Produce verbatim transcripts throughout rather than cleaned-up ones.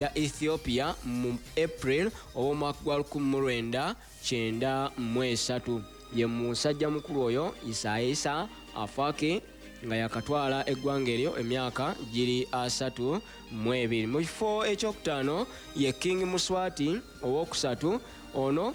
Ya Ethiopia mu April ow'omwaka gwa lukumi mu lwenda kyenda mu esatu. Ye musajja mukulu oyo Isaisa Afwerki, nga yakatwala eggwanga eryo emyaka giri asatu mu ebiri. Mu kifo ekyokutaano ye King Muswati Owokusatu. Ono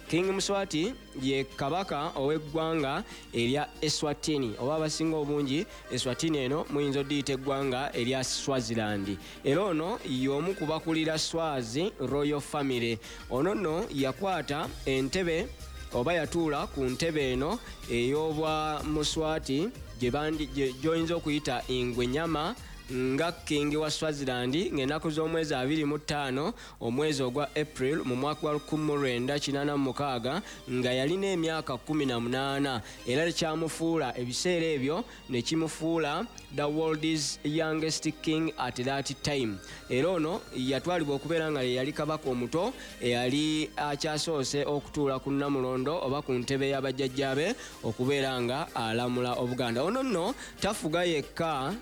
King Muswati ye kabaka ow'eggwanga erya Eswatini, oba abasinga obungi Eswatini eno muyinza oddiyita eggwanga erya Swaziland. Era ono y'omu ku bakulira Swazi Royal Family. Ono nno yakwata entebe oba yatuula ku ntebe eno ey'obwa Muswati gy'oyinza okuyita Ingwenyama nga King wa Swaziland ng'ennaku z'omwezi abiri mu ttaano omwezi ogwa April mu mwaka gwa lukumi mu lwenda kinaana mu mukaaga, nga yalina emyaka kkumi na munaana. Era kyamufuula ebiseera ebyo ne kimufuula the world's youngest king at that time. Era ono yatwalibwa okubeera nga ye yali kabaka omuto eyali akyasoose okutuula ku nnamulondo oba ku ntebe y'abajjajjaabe okubeera nga alamula Obuganda. Ono nno tafuga yekka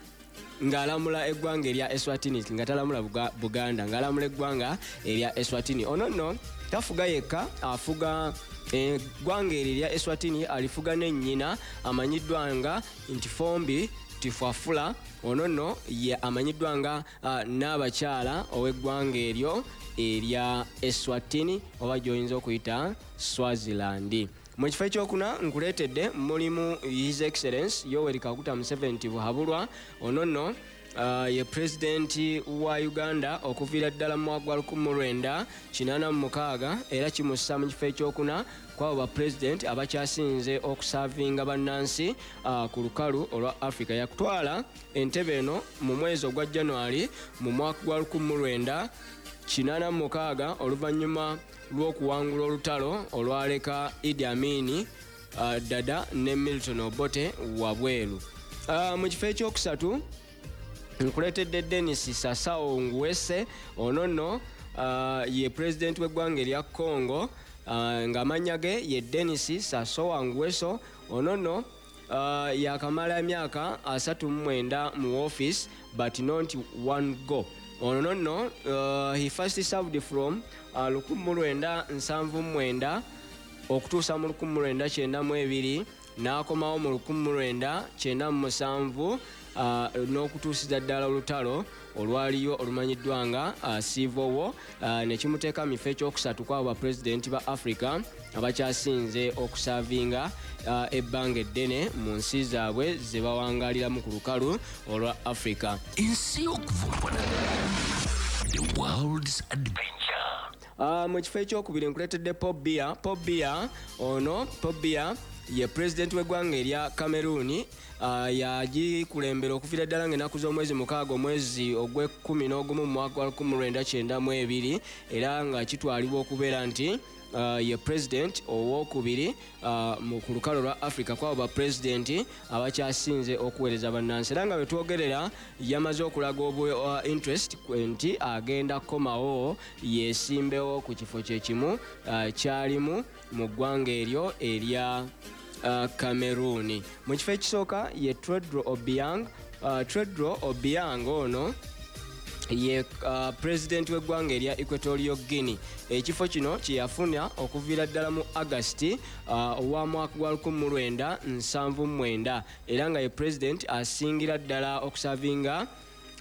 ng'alamula eggwanga erya Eswatini, nga talamula Buganda, ng'alamula eggwanga erya Eswatini. Ono nno tafuga yekka, afuga eggwanga eryo erya Eswatini, alifuga nennyina amanyiddwa nga Ntfombi Tfwala. Ono nno ye amanyiddwa nga uh, n'abakyala ow'eggwanga eryo erya Eswatini oba gy'oyinza okuyita Swaziland. Mu kifo ekyokuna nkuleetedde mulimu His Excellence Yoweri Kaguta Museveni Tibuhaburwa. Ono nno uh, ye pulezidenti wa Uganda okuviira ddala mu mwaka gwa lukumi mu lwenda kinaana mu mukaaga, era kimussa mu kifo ekyokuna kwabo bapulezidenti abakyasinze okusaavinga bannansi uh, ku lukalu olwa Africa. Yakutwala entebe eno mu mwezi ogwa January mu mwaka gwa lukumi mu lwenda kinaana mu mukaaga, oluvannyuma lw'okuwangula olutalo olwaleka Idi Amini uh, Dada ne Milton Obote wabweru. uh, mu kifo ekyokusatu nkuleetedde Denis Sassou Nguesso. Ono nno uh, ye pulezidenti w'eggwanga erya Congo, uh, ng'amannya ge ye Denis Sassou Nguesso. Ono nno uh, yakamala emyaka asatu mu mwenda mu office, but not one go. Ono nno uh, he first served from uh, lukumi mu lwenda nsanvu mu mwenda okutuusa mu lukumi mu lwenda kyenda mu ebiri, n'akomawo mu lukumi mu lwenda kyenda mu musanvu uh, n'okutuusiza ddala olutalo olwaliyo olumanyiddwa nga uh, civil war, uh, ne kimuteeka mu kifo ekyokusatu kwabo bapulezidenti ba Africa abakyasinze okusaavinga uh, ebbanga eddene mu nsi zaabwe ze bawangaliramu ku lukalu olwa Africa. Ensi y'okuvumbula, the world's adventure. Uh, mu kifo ekyokubiri nkuleetedde Paul Biya. Paul Biya ono, Paul Biya ye pulezidenti w'eggwanga erya Cameroon. uh, yagikulembera okuviira ddala ng'ennaku z'omwezi mukaaga omwezi ogw'ekkumi n'ogumu mu mwaka gwa lukumi mu lwenda kyenda mu ebiri, era nga kitwalibwa okubeera nti uh, ye pulezidenti owokubiri uh, mu ku lukalo lwa Africa kwabo bapulezidenti abakyasinze okuweereza bannansi. Era nga bwe twogerera yamaze okulaga obu uh, interest nti agenda kukomawo yeesimbewo ku kifo kyekimu uh, kyalimu mu ggwanga eryo erya uh, Cameroon. Mu kifo ekisooka ye Teodoro Obiang. uh, Teodoro Obiang ono ye uh, pulezidenti w'eggwanga erya Equatorial Guinea. Ekifo kino kyeyafuna okuviira ddala mu Agasti uh, owa mwaka gwa lukumi mu lwenda nsanvu mu mwenda, era nga ye pulezidenti asingira ddala okusavinga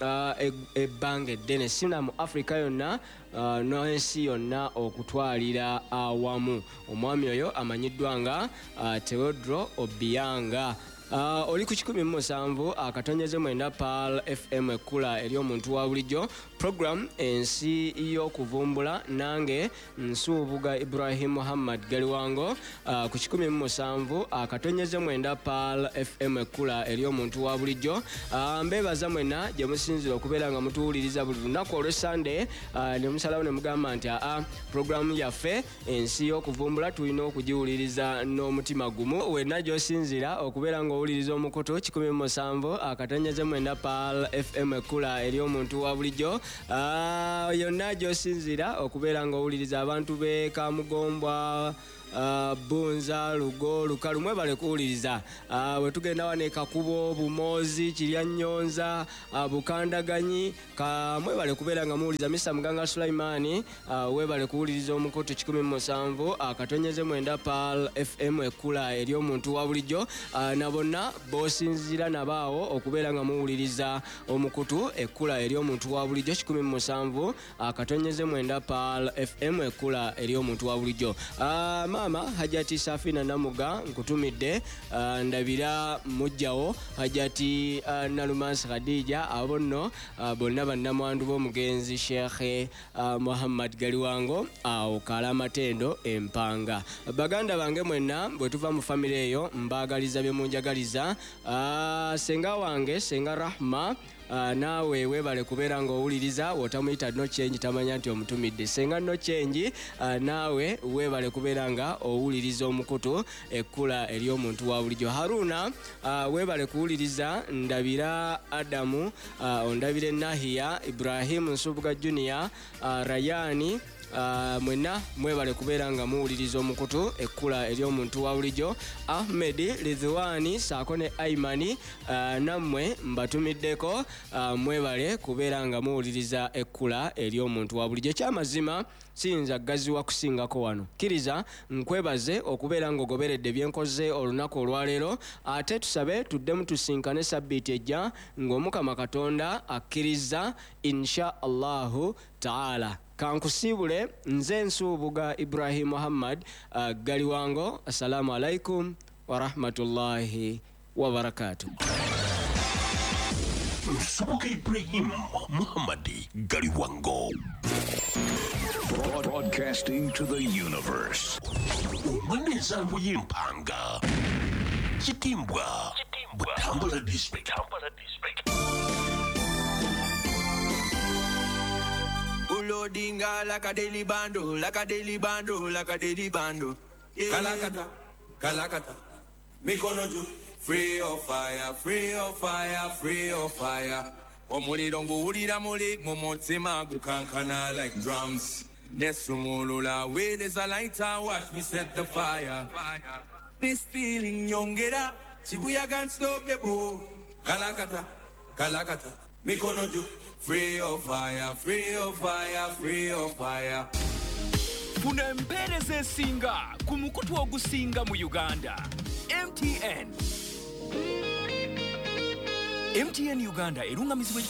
uh, ebbanga eddene sina mu Africa yonna uh, n'ensi yonna okutwalira awamu. Omwami oyo amanyiddwa nga uh, Teodoro Obianga. Uh, oli ku kikumi mu musanvu akatonyeze mwenda Pearl F M, ekkula ery'omuntu wa bulijjo, program Ensi y'Okuvumbula, nange Nsuubuga Ibrahim Muhammad Galiwango, uh, ku kikumi mu musanvu akatonyeze mwenda Pearl F M, ekkula ery'omuntu wa bulijjo. uh, mbeebaza mwenna gye musinzira okubeera nga mutuwuliriza buli lunaku olw'Essande, uh, ne musalawo ne mugamba nti aa, programu yaffe Ensi y'Okuvumbula tulina okugiwuliriza n'omutima gumu. Wenna gy'osinzira okubeera nga owuliriza omukutu kikumi mu musanvu akatonyeze mwenda Pearl F M, ekkula ery'omuntu wa bulijjo, Ah, yonna gy'osinzira okubeera nga owuliriza, abantu b'e Kamugombwa, uh, Bunza, Lugo, Lukalu, mwebale kuwuliriza. uh, Wetugenda wane Kakubo, Bumozi, Kiryanyonza, uh, Bukandaganyi, ka mwebale kubeera nga muwuliriza. Mister Muganga Sulaimani, uh, webale kuwuliriza omukutu kikumi musanvu akatonyeze mwenda Pearl F M ekkula eri omuntu wa bulijjo. uh, na bonna bosinzira nabaawo okubeera nga muwuliriza omukutu ekkula eri omuntu wa bulijjo kikumi musanvu akatonyeze mwenda Pearl F M ekkula eri omuntu wa bulijjo. uh, Maama Hajati Safina Namuga nkutumidde, uh, ndabira mujjawo Hajati uh, Nalumansi Khadija, abo nno uh, bonna bannamwandu b'omugenzi Sheikh uh, Muhammad Galiwango awo Kalamatendo Empanga. Baganda bange mwenna bwe tuva mu famire eyo mbaagaliza bye munjagaliza. uh, Senga wange Senga Rahma, Uh, naawe webale kubeera ng'owuliriza, wotamuyita no change tamanya nti omutumidde. Senga no change, uh, naawe webale kubeera nga owuliriza omukutu ekkula eri omuntu wa bulijjo. Haruna, uh, webale kuwuliriza. Ndabira Adamu, uh, ondabire Nahiya, Ibrahim Nsubuga Junior, uh, Rayani, Uh, mwenna mwebale kubeera nga muwuliriza omukutu ekkula eri omuntu wa bulijjo. Ahmed Ridhwani saako ne Aimani, uh, nammwe mbatumiddeko, uh, mwebale kubeera nga muwuliriza ekkula eri omuntu wa bulijjo. Ekyamazima siyinza gaziwa kusingako wano. Kkiriza nkwebaze okubeera ng'ogoberedde byenkoze olunaku olwaleero, ate tusabe tuddemu tusinkane sabbiiti ejja ng'Omukama Katonda akkiriza insha Allahu taala. Kankusiibule nze Nsubuga Ibrahim Muhammad uh, Galiwango. Assalamu alaikum wa rahmatullahi wa barakatuh. Nsubuga Ibrahim Muhammad Galiwango. Broadcasting to the universe. Umwana w'impanga. Kitimbwa. Butambala District. Butambala District. Loadinga like a daily bando, like a daily bando, like a daily bando. Yeah. Kalakata, kalakata, mikono juu. Free of fire, free of fire, free of fire. Omuliro nguwulira muli mu mutima gukankana like drums. Nesumulula with is a lighter, watch me set the fire. This feeling yongera, Shibuya can't stop the boo. Kalakata, kalakata, mikono juu. Free of fire, free of fire, free of fire. Funa empeereza esinga ku mukutu ogusinga mu Uganda. M T N. M T N Uganda erungamizibwa.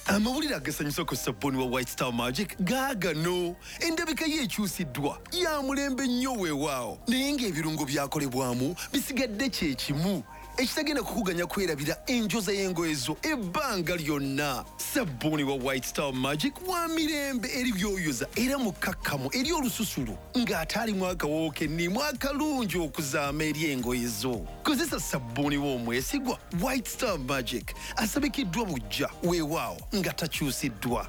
Amawulire agasanyusa ku sabbuuni wa White Star Magic gaagano. Endabika ye ekyusiddwa ya mulembe nnyo weewaawo, naye ng'ebirungo byakolebwamu bisigadde kye kimu ekitagenda kukuganya kwerabira enjoza y'engoye zo ebbanga lyonna. Sabbuuni wa White Star Magic wa mirembe eri byoyoza era mukakkamu eri olususu ng'ate alimu akawoowo kennimu akalungi okuzaama eri engoye zo. Kozesa sabbuuni w'omwesigwa White Star Magic asabikiddwa buggya weewaawo nga takyusiddwa.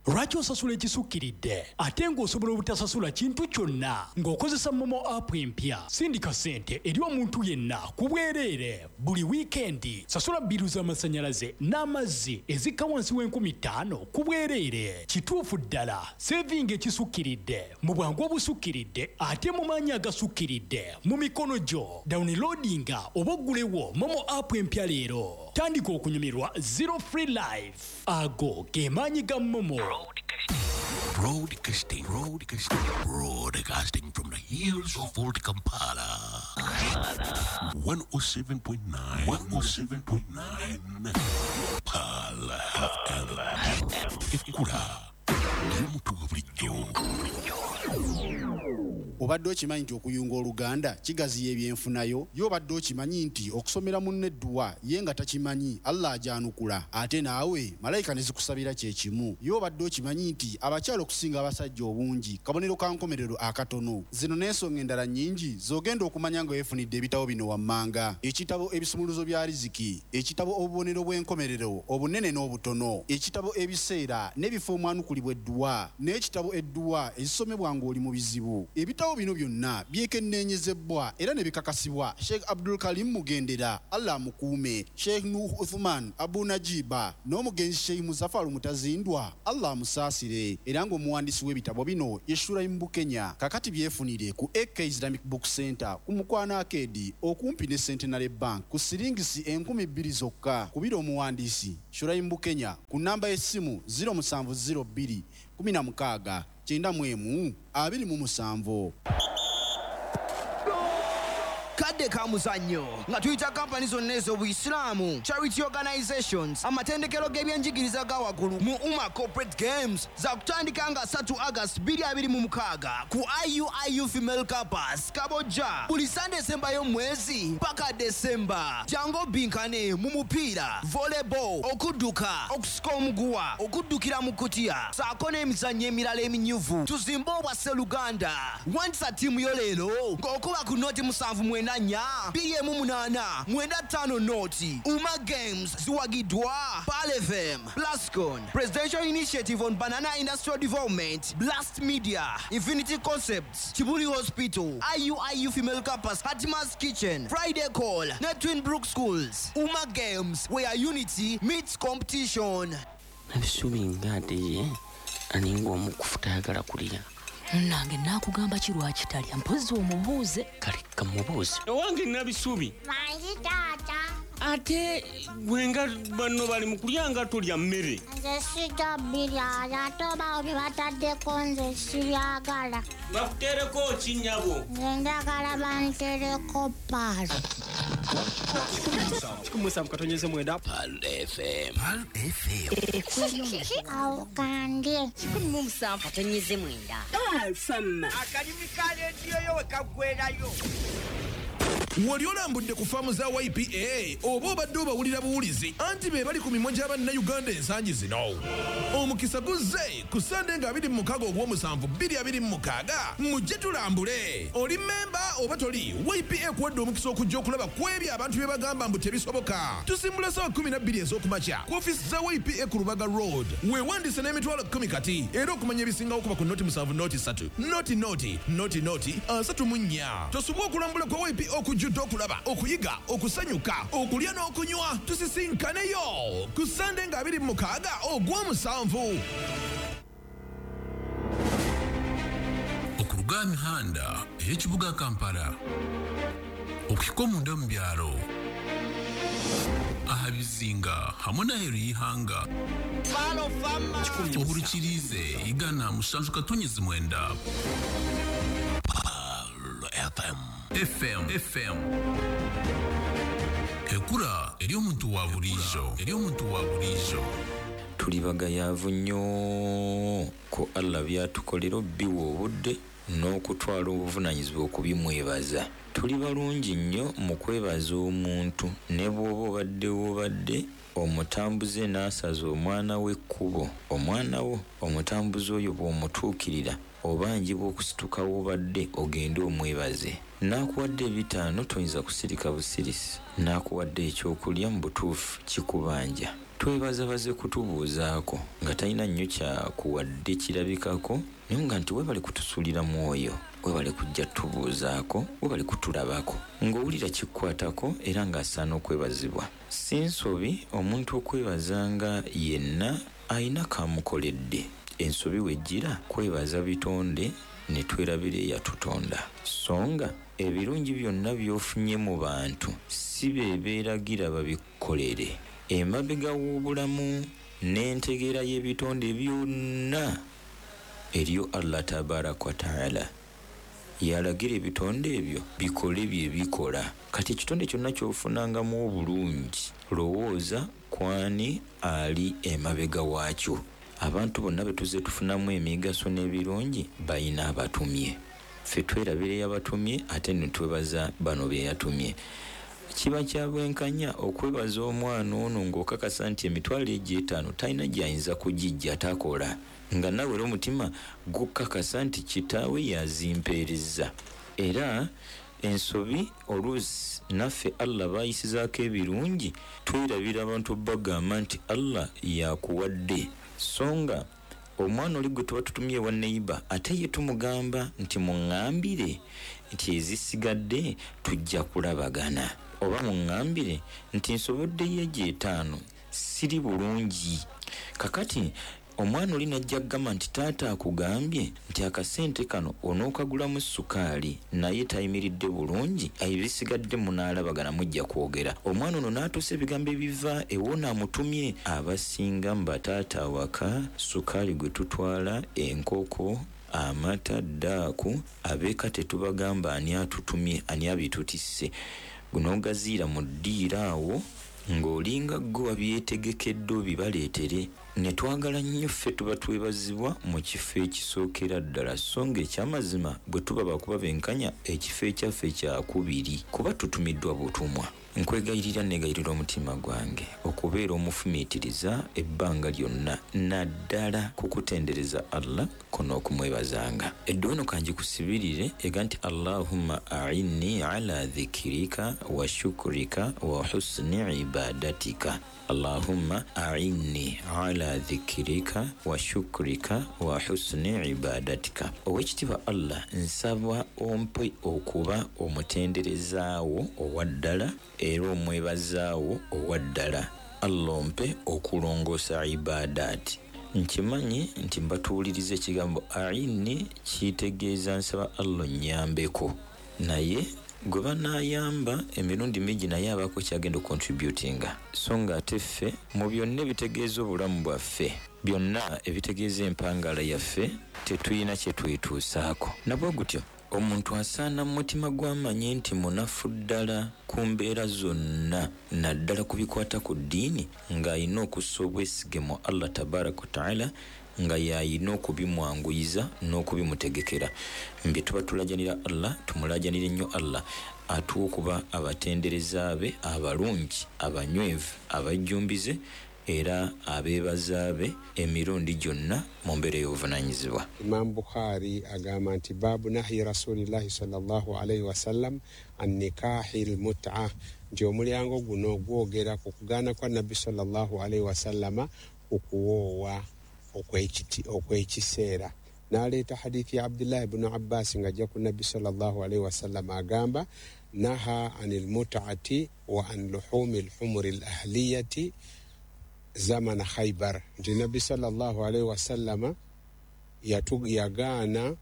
Lwaki osasula ekisukkiridde ate ng'osobola obutasasula kintu kyonna ng'okozesa MoMo app empya? Sindika ssente eri omuntu yenna ku bwereere buli wiikendi. Sasula bbiru z'amasannyalaze n'amazzi ezikka wansi w'enkumi ttaano ku bwereere. Kituufu ddala, sevinga ekisukkiridde mu bwangu obusukkiridde ate mu maanyi agasukkiridde mu mikono gyo. Downloadinga oba oggulewo MoMo app empya leero. Tandika okunyumirwa Zero Free Life. Ago ge maanyi ga MoMo. Broadcasting, broadcasting, broadcasting from the hills of old Kampala. one oh seven point nine, one oh seven point nine. Pearl F M. Ekkula y'omuntu wa bulijjo. Obadde okimanyi nti okuyunga oluganda kigaziya ebyenfunayo? Ye obadde okimanyi nti okusomera munno edduwa ye nga takimanyi Allah agyanukula, ate naawe malayika ne zikusabira kye kimu? Ye obadde okimanyi nti abakyala okusinga abasajja obungi kabonero ka nkomerero akatono? Zino n'ensonga endala nnyingi z'ogenda okumanya nga weefunidde ebitabo bino wammanga: ekitabo ebisumuluzo bya riziki, ekitabo obubonero bw'enkomerero obunene n'obutono, ekitabo ebiseera n'ebifo omwanukulibwa edduwa, n'ekitabo edduwa ezisomebwa ng'oli mu bizibu. Ebitabo Ebitabo bino byonna byekenneenyezebwa era ne bikakasibwa Sheikh Abdul Karim Mugendera, Allah amukuume, Sheikh Nuh Uthman Abu Najiba n'omugenzi Sheikh Muzafaru Mutazindwa, Allah amusaasire, era ng'omuwandiisi w'ebitabo bino ye Shuraim Bukenya. Kakati byefunire ku A K Islamic Book Center ku Mukwano Arcade okumpi ne Centenary Bank ku siringisi enkumi bbiri zokka. Kubira omuwandiisi Shuraim Bukenya ku namba y'essimu zero musanvu zero bbiri kumi na mukaaga kyenda mu emu abiri mu musanvu. Kadde ka muzannyo nga tuyita kampani zonna ez'obuyisiraamu, charity organizations, amatendekero g'ebyenjigiriza ga waggulu mu Umma Corporate Games za kutandika nga asatu August bbiri abiri mu mukaaga ku I U I U Female Campus Kabojja buli Sunday esembayo mu mwezi paka December. Jangu obinkane mu mupiira, volleyball, okudduka, okusika omuguwa, okuddukira mu kutiya ssaako n'emizannyo emirala eminyuvu. Tuzimbe obwa Sseruganda. Wandisa ttiimu yo leero ng'okuba ku noti musanvu mwenda nnya bbiri emu munaana mwenda ttaano noti. Umma Games ziwagiddwa Pearl F M, Plascon, Presidential Initiative on Banana Industrial Development, Blast Media, Infinity Concepts, Kibuli Hospital, I U I U Female Campus, Hatima's Kitchen, Friday Call, ne Twin Brook Schools. Umma Games, where unity meets competition. Nabisubi nga ye aninga omukufu tayagala kulya. Nange nakugamba ki lwaki talya, mpozzi omubuuze. Kale kamubuuze. Owange Nabisubi. Mangi taata. Ate gwe nga banno bali mu kulya nga tolya mmere. Nze sijja bbirya, ate oba bye bataddeko nze sibyagala. Bakuteereko ki nnyabo? Nze njagala bantereko Pearl. Kikumi musanvu katonyeze mwenda. Pearl F M. Pearl F M. Awo kandye. Kikumi mu musanvu katonyeze mwenda. Pearl F M. Akalimi ka leediyo yo we kaggweerayo. Wali olambudde ku faamu za Y P A oba obadde obawulira buwulizi anti be bali ku mimwa gy'abannayuganda ensangi zino. Omukisa guzze ku Sande nga abiri mu mukaaga ogw'omusanvu bbiri abiri mu mukaaga mujje tulambule. Oli mmemba oba toli, Y P A ekuwadde omukisa okujja okulaba ku ebyo abantu bye bagamba mbu tebisoboka. Tusimbula ssaawa kkumi na bbiri ez'okumakya ku ofiisi za Y P A ku Lubaga Road. Weewandiise n'emitwalo kkumi kati era okumanya ebisingawo kuba ku noti musanvu noti ssatu noti noti noti noti asatu mu nnya. Tosubwa okulambula kwa Y P A okujjudde okulaba, okuyiga, okusanyuka, okulya n'okunywa. Tusisinkaneyo ku Sande nga abiri mu mukaaga ogw'omusanvu. Okuruga mihanda ey'ekibuga Kampala okuhika omunda mu byalo aha bizinga hamwe n'aheeru y'ihanga ohurikirize igana mushanju katonyezi mwenda. Pearl F M. F M F M. Ekura eri omuntu wa bulijjo, eri omuntu wa bulijjo. Tuli bagayaavu nnyo ku Allah byatukolera obbiwa obudde n'okutwala obuvunaanyizibwa okubimwebaza. Tuli balungi nnyo mu kwebaza omuntu ne bw'oba obadde w'obadde omutambuze n'asaza omwana w'ekkubo. Omwana wo omutambuze oyo bw'omutuukirira obanjibwa okusituka w'obadde ogende omwebaze. N'akuwadde ebitaano toyinza kusirika busirisi, n'akuwadde ekyokulya mu butuufu kikubanja. Twebaza baze kutubuuzaako nga talina nnyo kyakuwadde kirabikako, naye nga nti weebale kutusuulira mwoyo, weebale kujja tubuuzaako, weebale kutulabako, ng'owulira kikukwatako era ng'asaana okwebazibwa. Si nsobi omuntu okwebazanga yenna ayina kamukoledde. Ensobi wejjira kwebaza bitonde ne twerabira eyatutonda. So nga ebirungi byonna by'ofunye mu bantu si be beeragira babikolere. Emabega w'obulamu n'entegeera y'ebitonde byonna eriyo Allah tabaraka wa taala yalagira ebitonde ebyo bikole bye bikola. Kati ekitonde kyonna ky'ofunangamu obulungi lowooza kwani ali emabega waakyo. Abantu bonna be tuzze tufunamu emigaso n'ebirungi bayina abatumye. Ffe twerabira eyabatumye ate ne twebaza bano be yatumye. Kiba kya bwenkanya okwebaza omwana ono ng'okakasa nti emitwalo egyo etaano talina gy'ayinza kugijja takola, nga nawe era omutima gukakasa nti kitaawe yazimpeereza. Era ensobi oluusi naffe Allah baayisizaako ebirungi twerabira abantu bagamba nti Allah yakuwadde, so nga Omwana oli gwe tuba tutumye ewa neighbor ate ye tumugamba nti muŋŋambire nti ezisigadde tujja kulabagana, oba muŋŋambire nti nsoboddeyo egyo etaano siri bulungi. Kakati omwana oli najja kugamba nti taata akugambye nti akasente kano onookagulamu sukaali naye tayimiridde bulungi, ebisigadde munaalabagana mujja kwogera. Omwana ono n'atuusa ebigambo ebiva ewona amutumye. Abasinga mu bataata awaka sukaali gwe tutwala, enkoko, amata, ddaaku, abeeka tetubagamba ani atutumye, ani abitutisse. Guno ogaziira mu ddiiro awo ng'olinga ggwe wabyetegekedde obibaleetere. Ne twagala nnyo ffe tuba twebazibwa mu kifo ekisookera ddala, so ng'ekyamazima bwe tuba bakuba benkanya ekifo ekyaffe kyakubiri kuba tutumiddwa butumwa. Nkwegayirira negayirira omutima gwange okubeera omufumiitiriza ebbanga lyonna, naddala kukutendereza Allah ko n'okumwebazanga. Edduwa eno kangikusibirire ega nti Allahumma a'inni ala dhikirika wa shukrika wa husni ibadatika. Allahumma a'inni ala dhikirika wa shukrika wa husni ibadatika. Owekitiibwa Allah, nsaba ompe okuba omutenderezaawo owa ddala era omwebazaawo owa ddala. Allah ompe okulongoosa ibadaati. Nkimanyi nti mbatuwuliriza ekigambo a'inni kitegeeza nsaba Allah onnyambeko, naye gwe banaayamba emirundi mingi naye abaako kyagenda okucontributinga. So ng'ate ffe mu byonna ebitegeeza obulamu bwaffe, byonna ebitegeeza empangala yaffe, tetulina kye twetuusaako. Nabwe gutyo omuntu asaana mu mutima gw'amanye nti munafu ddala ku mbeera zonna, naddala ku bikwata ku ddiini, ng'alina okussa obwesige mu Allah tabaraka wa taala, nga y'alina okubimwanguyiza n'okubimutegekera. Mbye tuba tulajanira Allah, tumulajanire nnyo Allah atuwe okuba abatendereza be abalungi, abanywevu, abajjumbize era abeebaza be emirundi gyonna mu mbeera ey'obuvunaanyizibwa. Imam Bukhari agamba nti baabu nahyi rasulillahi sallallahu alaihi wasallam an nikahi lmut'a, nti omulyango guno gwogera ku kugaana kwa nabbi sallallahu alaihi wasallama okuwoowa okw'ekiseera. N'aleeta hadithi ya Abdullahi ibnu Abbas ng'ajja ku nabbi sallallahu alaihi wasallama agamba naha anil mut'ati wa an luhumi lhumuri lahliyati zamana Khaybar, nti nabbi sallallahu alaihi wasallama yagaana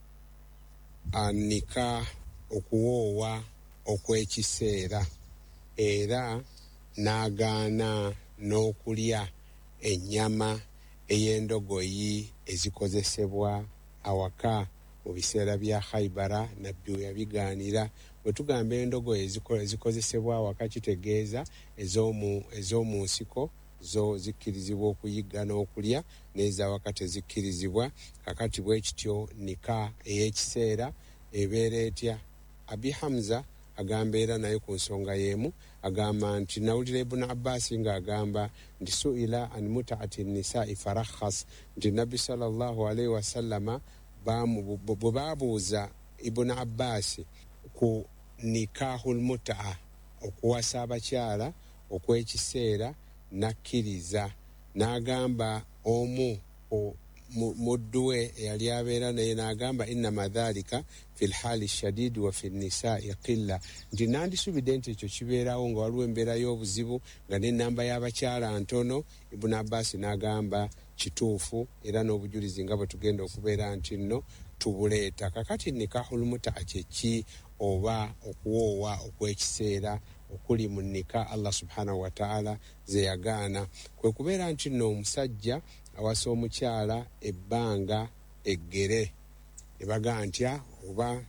anika okuwoowa okw'ekiseera era n'agaana n'okulya ennyama ey'endogoyi ezikozesebwa awaka mu biseera bya Khaybara. Nabbi we yabigaanira. Bwe tugamba endogoyi ezikozesebwa awaka kitegeeza ez'omu nsiko zo zikkirizibwa okuyigga n'okulya, n'ezawaka tezikkirizibwa. Kakati bwe kityo nika ey'ekiseera ebeera etya? Abi Hamza agamba era naye ku nsonga y'emu, agamba nti nawulira Ibn Abbas ng'agamba nti suila an mut'ati nisai farakhas, nti nabbi sallallahu alaihi wasallama bwe baabuuza Ibn Abbas ku nikahul mut'a, okuwasa abakyala okw'ekiseera, nakkiriza n'agamba omu muddu we eyali abeera naye n'agamba innama dhalika fi lhali shadidi wa fi nisai qilla, nti nandisubidde nti ekyo kibeerawo nga waliwo embeera y'obuzibu nga n'ennamba y'abakyala ntono. Ibn Abbas n'agamba kituufu era n'obujulizi nga bwe tugenda okubeera nti nno tubuleeta. Kakati nikahul mut'a kye ki, oba okuwoowa okw'ekiseera okuli mu nika Allah subhanahu wa ta'ala ze yagaana, kwe kubeera nti nno omusajja awasa omukyala ebbanga eggere, ne bagaa ntya oba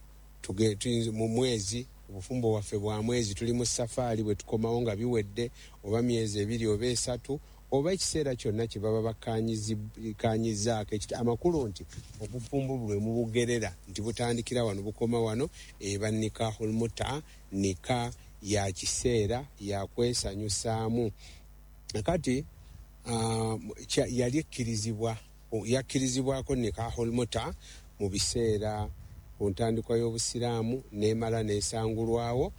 mu mwezi, obufumbo bwaffe bwa mwezi, tuli mu safaari, bwe tukomawo nga biwedde, oba myezi ebiri oba esatu oba ekiseera kyonna kye baba bakkaanyizaako. Amakulu nti obufumbo bwe mubugerera nti butandikira wano bukoma wano, eba nikahul mut'a, nika ya kiseera ya kwesanyusaamu. Kati uh, yali ekkirizibwa, yakkirizibwako nikahul mut'a mu biseera ku ntandikwa y'obusiraamu n'emala n'esangulwawo.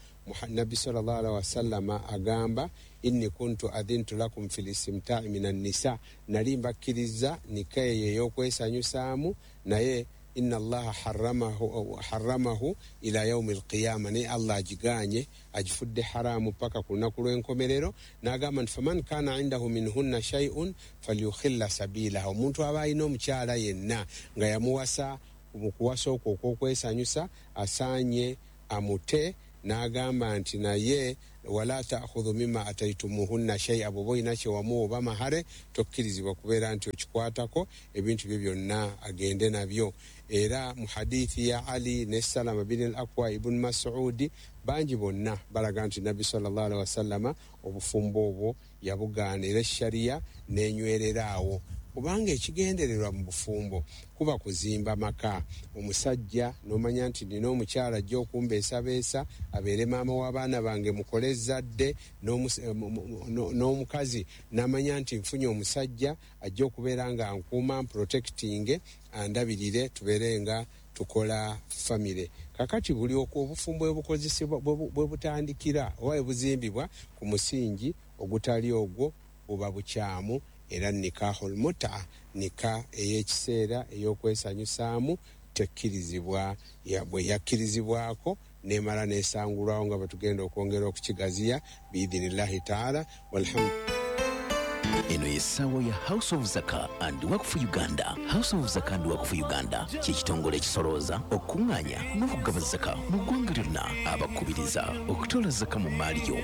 Nabbi sallallahu alaihi wasallama agamba inni kuntu adhintu lakum fil istimta'i minan nisa, nali mbakkiriza nika eyo ey'okwesanyusaamu, naye inna allaha harramahu, harramahu ila yaumi alqiyama, naye Allah agiganye agifudde haramu paka ku lunaku lw'enkomerero. N'agamba nti faman kana indahu minhunna shay'un falyukhilla sabilaha, omuntu aba alina omukyala yenna nga yamuwasa mu kuwasa okwo okw'okwesanyusa asaanye amute. N'agamba nti naye wala ta'khudhu mimma ataytumuhunna shay'a, bw'oba olina kye wamuwa oba mahare tokkirizibwa kubeera nti okikwatako, ebintu bye byonna agende nabyo. Era mu hadithi ya Ali ne Salama bin al-Akwa ibn Mas'udi bangi bonna balaga nti Nabbi sallallahu alaihi wasallama obufumbo obwo yabugaana era sharia n'enywerera awo, kubanga ekigendererwa mu bufumbo kuba kuzimba maka. Omusajja n'omanya nti nina omukyala ajja okumbeesabeesa abeere maama w'abaana bange mukole ezzadde, n'omukazi n'amanya nti nfunye omusajja ajja okubeera nga nkuuma mprotecting andabirire tubeere nga tukola famire. Kakati buli obufumbo bwe bukozesebwa bwe butandikira oba bwe buzimbibwa ku musingi ogutali ogwo buba bukyamu. Era nikahul muta, nika ey'ekiseera ey'okwesanyusaamu tekkirizibwa, bwe yakkirizibwako n'emala n'esangulwawo nga bwe tugenda okwongera okukigaziya biidhinillahi taala. Walhamdu. Eno y'essaawa ya House of Zaka and Waqf Uganda. House of Zaka and Waqf Uganda kye kitongole ekisolooza, okuŋŋaanya n'okugaba zaka mu ggwanga lyonna. Abakubiriza okutoola zaka mu mmaali yo.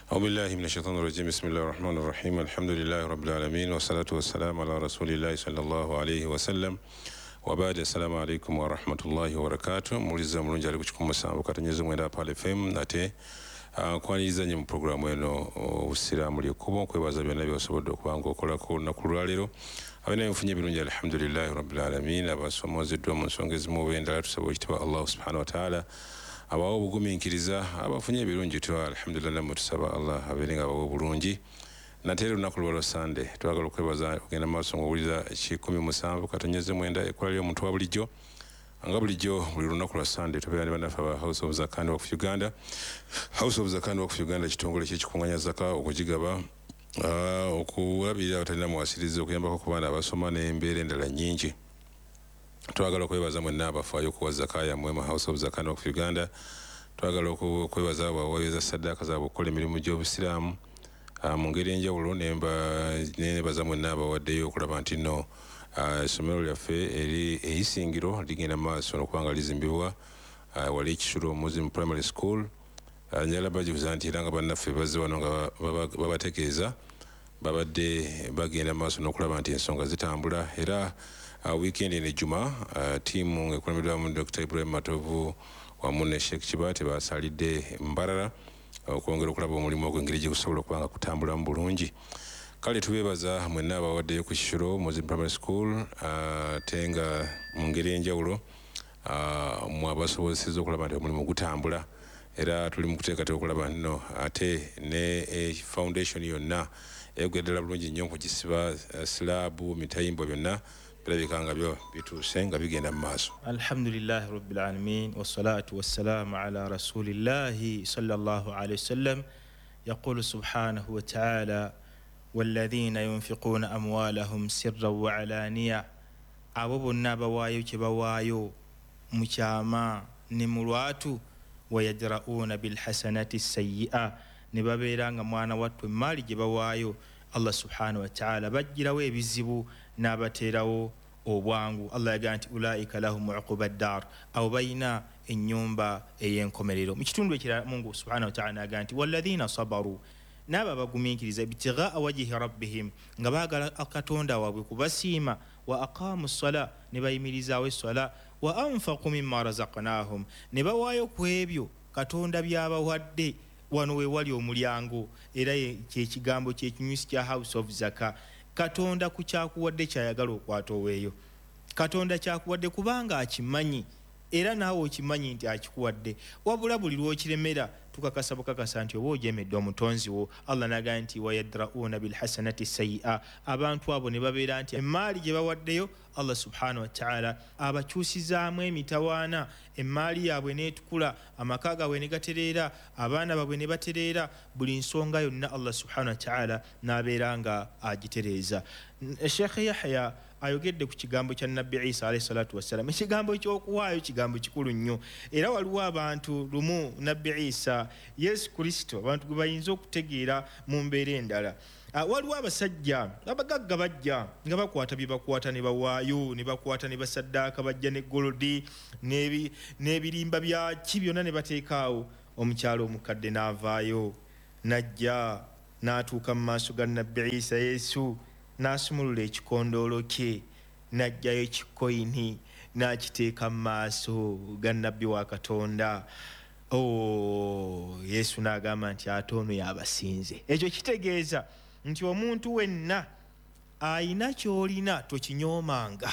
أعوذ بالله من الشيطان الرجيم. بسم الله الرحمن الرحيم. الحمد لله رب العالمين والصلاة والسلام على رسول الله صلى الله عليه وسلم وبعد. السلام عليكم ورحمة الله وبركاته. Muliza mulungi ali ku kikumi musanvu katonyeze mwenda Pale F M nate nkwaniriza nnyo mu pulogulaamu eno Obusiraamu ly'ekkubo, nkwebaza byonna by'osobodde okuba ng'okolako olunaku lwaleero. Abeera nfunye ebirungi alhamdulillahi rabbil alamin. Abasomoozeddwa mu nsonga ezimu oba endala tusaba ekitiibwa Allah subhanahu wa ta'ala abawa obugumiikiriza, abafunye ebirungi tuwa alhamdulillah, nammwe tusaba Allah abeere nga abawa obulungi. Nate era olunaku lwa Sande twagala okwebaza okugenda mu maaso ng'owulira kikumi musanvu katonyeze mwenda ekkola ly'omuntu wa bulijjo. Nga bulijjo buli lunaku lwa Sande tubeera ne bannaffe aba House of Zaka and Waqf Uganda. House of Zaka and Waqf Uganda kitongole ky'ekikuŋŋaanya zaka, okugigaba, okulabirira abatalina muwasirizi, okuyambako ku baana abasoma n'embeera endala nnyingi. Twagala okwebaza mwenna abafaayo okuwa zaka yammwe mu House of Zaka and Waqf Uganda. Twagala okwebaza abo abaweereza saddaaka zaabwe okukola emirimu gy'obusiraamu mu ngeri enjawulo, nebaza mwenna abawaddeyo okulaba nti nno essomero lyaffe eri eisingiro ligenda mu maaso n'okuba nga lizimbibwa wali ekisulo Muslim Primary School. Njagala bajuza nti era nga bannaffe bazze wano nga babategeeza babadde bagenda mu maaso n'okulaba nti ensonga zitambula. Era weekend eno ejjuma ttiimu ng'ekulembeddwamu Dokita Ibrahim Matovu wamu ne Sheikh Kibaate basalidde Mbarara okwongera okulaba omulimu ogwo engeri gye gusobola okuba nga kutambulamu bulungi. Kale tubeebaza mwenna abawaddeyo ku kisulo Muslim Primary School, ate nga mu ngeri enjawulo mwe abasobozesezza okulaba nti omulimu gutambula. Era tuli mu kuteekateeka okulaba nno ate ne foundation yonna eyogera ddala bulungi nnyo okugisiba silaabu, mitayimbwa byonna birabika nga byo bituuse nga bigenda mu maaso. Alhamdulillahi rabbil alamin wassalatu wassalamu ala rasulillahi sallallahu alayhi wasallam. Yaqulu subhanahu wa ta'ala walladhina yunfiquna amwalahum sirran wa alaniya, abo bonna abawaayo kye bawaayo mu kyama ne mu lwatu, wayadra'una bilhasanati sayyi'a, ne babeera nga mwana wattu emmaali gye bawaayo Allah subhanahu wa ta'ala bajjirawo ebizibu n'abateerawo obwangu. Allah yagamba nti ulaika lahum uquba ddar, abo balina ennyumba ey'enkomerero. Mu kitundu ekirala Mungu subhanahu wa ta'ala agamba nti walladhina sabaru, n'abo abagumiikiriza ibtighaa wajhi rabbihim, nga baagala Katonda waabwe kubasiima, wa aqaamu ssala, ne bayimirizaawo esswala, wa anfaqu mimma razaqnahum, ne bawaayo ku ebyo Katonda by'abawadde. Wano we wali omulyango, era kyekigambo kyekinyusi kya House of Zaka. Katonda ku kyakuwadde kyayagala okwata oweeyo. Katonda kyakuwadde kubanga akimanyi, era naawe okimanyi nti akikuwadde. Wabula buli lw'okiremera Tukakasa bukakasa nti oba ojemedde omutonzi wo. Allah n'agamba nti wayadrauna bilhasanati sayia, abantu abo ne babeera nti emaali gye bawaddeyo Allah subhanahu wa ta'ala abakyusizaamu emitawaana, emaali yaabwe n'etukula, amaka gaabwe ne gatereera, abaana baabwe ne batereera, buli nsonga yonna Allah subhanahu wa ta'ala n'abeera nga agitereeza. Sheikh Yahya ayogedde ku kigambo kya Nabbi Isa alayhi salatu wassalam. Ekigambo eky'okuwaayo kigambo kikulu nnyo, era waliwo abantu lumu Nabbi Isa Yesu Kristo abantu gwe bayinza okutegeera mu mbeera endala. Waliwo abasajja abagagga bajja nga bakwata bye bakwata ne bawaayo, ne bakwata ne basaddaaka, bajja ne golodi n'ebirimba bya ki byonna ne bateekaawo. Omukyalo omukadde n'avaayo n'ajja n'atuuka mu maaso ga Nabbi Isa Yesu, n'asumulula ekikondoolo kye n'aggyayo ekikoyini n'akiteeka mu maaso ga Nabbi wa Katonda. Oh, Yesu n'agamba nti ate ono y'abasinze. Ekyo kitegeeza nti omuntu wenna ayina ky'olina tokinyoomanga.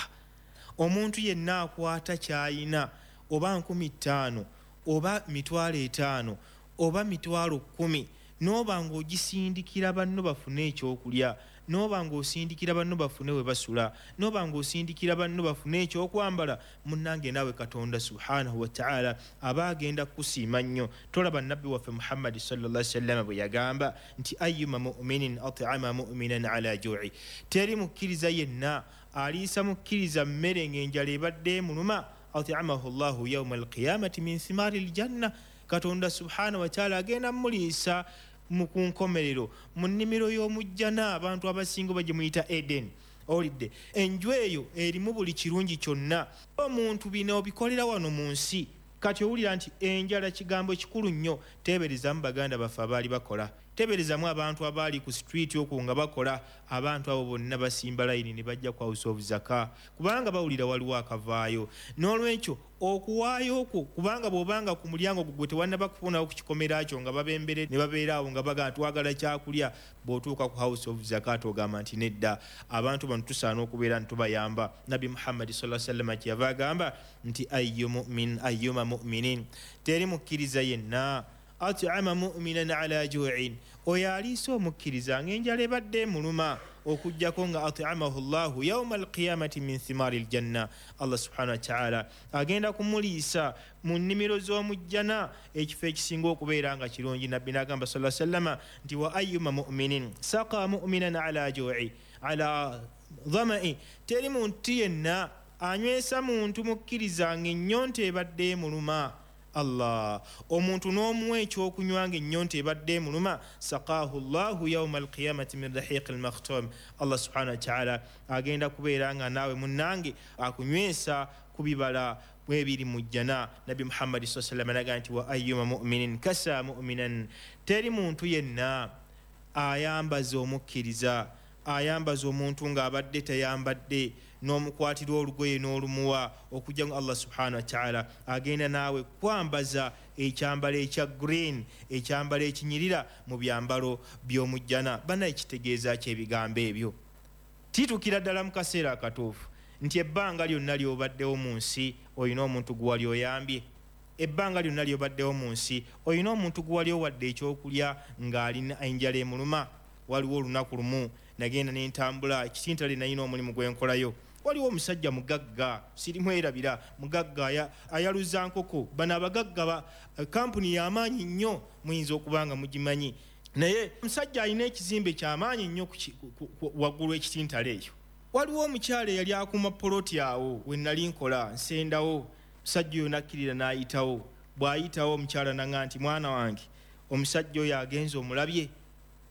Omuntu yenna akwata ky'ayina, oba nkumi ttaano oba mitwalo etaano oba mitwalo kkumi, n'oba ng'ogisindikira banno bafune ekyokulya, n'oba ng'osindikira banno bafune we basula, n'oba ng'osindikira banno bafune ekyokwambala, munnange naawe Katonda subhanahu wa ta'ala aba agenda kukusiima nnyo. Tolaba Nabbi waffe Muhammadi sallallahu alaihi wasallam bwe yagamba nti ayyuma mu'minin at'ama mu'minan ala ju'i, teri mukkiriza yenna aliisa mukkiriza mmere ng'enjala ebadde emuluma, at'amahu Allahu yawma alqiyamati min thimari aljanna, Katonda subhanahu wa ta'ala agenda muliisa mu ku nkomerero mu nnimiro y'omujjana, abantu abasinga bagye muyita Eden. Owulidde enju eyo erimu buli kirungi kyonna. Omuntu bino obikolera wano mu nsi. Kati owulira nti enjala kigambo kikulu nnyo. Teeberezamu baganda baffe abaali bakola, teeberezamu abantu abaali ku street okwo nga bakola. Abantu abo bonna basimba layini ne bajja ku House of Zaka kubanga bawulira waliwo akavaayo. N'olwekyo okuwaayo okwo, kubanga bw'obanga ku mulyango gwe tewannaba kufunawo ku kikomera kyo nga babembere ne babeera awo nga bagamba twagala kyakulya, bw'otuuka ku House of Zaka ogamba nti nedda, abantu bano tusaana okubeera nti tubayamba. Nabbi Muhammad sallallahu alaihi wasallam kyeyava agamba nti ayyu mu'min ayyuma mu'minin, teri mukkiriza yenna at'ama mu'minan ala ju'in, oyo aliisa omukkiriza ng'enjala ebadde emuluma, okuggyako nga at'amahu Allahu yawma alqiyamati min thimari aljanna, Allah subhanahu wa ta'ala agenda kumuliisa mu nnimiro z'omujjana, ekifo ekisinga okubeera nga kirungi. Nabbi n'agamba sallallahu alaihi wasallama nti wa ayyuma mu'minin saqa mu'minan ala ju'i ala dhama'i, teri muntu yenna anywesa muntu mukkiriza ng'ennyonta ebadde emuluma. Allah, omuntu n'omuwa ekyokunywa ng'ennyonta ebadde emuluma, saqaahu Allahu yawma alqiyamati min rahiqi almakhtum, Allah subhanahu wa ta'ala agenda kubeera nga naawe munnange akunywesa ku bibala ebiri mu jjana. Nabbi Muhammadi sallallahu alaihi wasallam n'agamba nti wa ayyuma mu'minin kasa mu'minan, teri muntu yenna ayambaza omukkiriza, ayambaza omuntu ng'abadde tayambadde, n'omukwatira olugoye n'olumuwa, okujja nga Allah subhanahu wa ta'ala agenda naawe kwambaza ekyambalo ekya green, ekyambalo ekinyirira mu byambalo by'omujjana. Bannaye kitegeeza ki ebigambo ebyo? Titukira ddala mu kaseera akatuufu nti ebbanga lyonna ly'obaddewo mu nsi olina omuntu gwe wali oyambye, ebbanga lyonna ly'obaddewo mu nsi olina omuntu gwe wali owadde ekyokulya ng'alina enjala emuluma. Waliwo olunaku lumu nagenda n'entambula ekitintale, nalina omulimu gwe nkolayo. Waliwo omusajja mugagga, sirimwerabira, mugagga ayaluza nkoko. Bano abagagga kampuni y'amaanyi nnyo, muyinza okuba nga mugimanyi, naye omusajja alina ekizimbe ky'amaanyi nnyo waggulu ekitintale eyo. Waliwo omukyala eyali akuuma poloti awo we nali nkola, nsendawo. Omusajja oyo n'akkirira n'ayitawo. Bw'ayitawo omukyala n'aŋŋamba nti mwana wange, omusajja oyo agenze omulabye?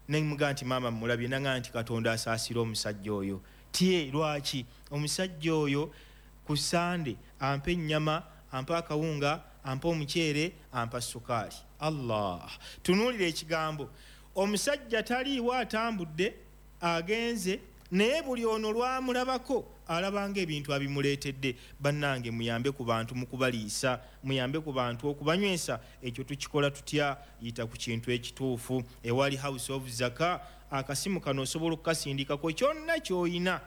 Nemugamba nti maama mmulabye. N'aŋŋamba nti Katonda asaasira omusajja oyo. Tye lwaki? Omusajja oyo ku Sande ampa ennyama, ampa akawunga, ampa omuceere, ampa sukaali. Allah, tunuulira ekigambo. Omusajja taliiwo, atambudde agenze, naye buli ono lwamulabako alabanga ebintu abimuleetedde. Bannange muyambe ku bantu mu kubaliisa, muyambe ku bantu okubanywesa. Ekyo tukikola tutya? Yita ku kintu ekituufu. Ewali House of Zaka akasimu kano osobola okukasindikako kyonna ky'oyina.